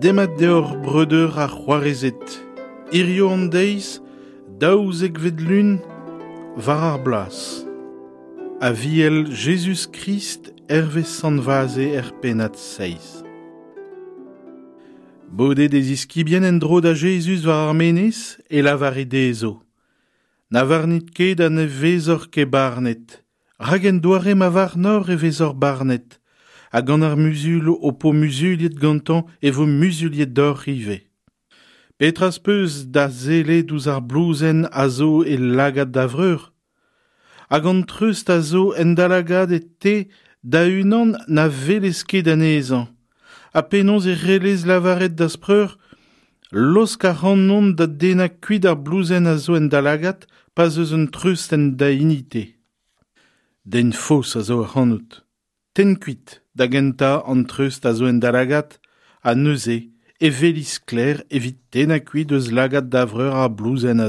Demat deoc'h breudeur ha c'hoarezed. Hirio an deiz, daouzekvet lun, war ar bloaz. Aviel Jezuz-Krist hervez Sant Vaze er pennad seizh. Bodet e ziskibien en-dro da Jezuz war ar menez, e lavare dezho: Na varnit ket ha ne vezoc'h ket barnet, rak en doare ma varnoc'h e vezoc'h barnet, ha gant ar muzul ho po muzuliet gantañ e vo muzuliet deoc'h ivez. Petra 'z peus da sellet ouzh ar blouzenn a zo e lagad da vreur? Hag an treust a zo en da lagad te da-unan na welez ket anezhañ. Ha penaos e c'hellez lavaret da'z preur Laosk ac'hanon da dennañ kuit ar blouzenn a zo en da lagad pa'z eus un treust en da hini-te. Den faos a zo ac'hanout. Tenn kuit da gentañ an treust a zo en da lagad ha neuze e weli sklaer evit tennañ kuit eus lagad da vreur ar blouzenn a.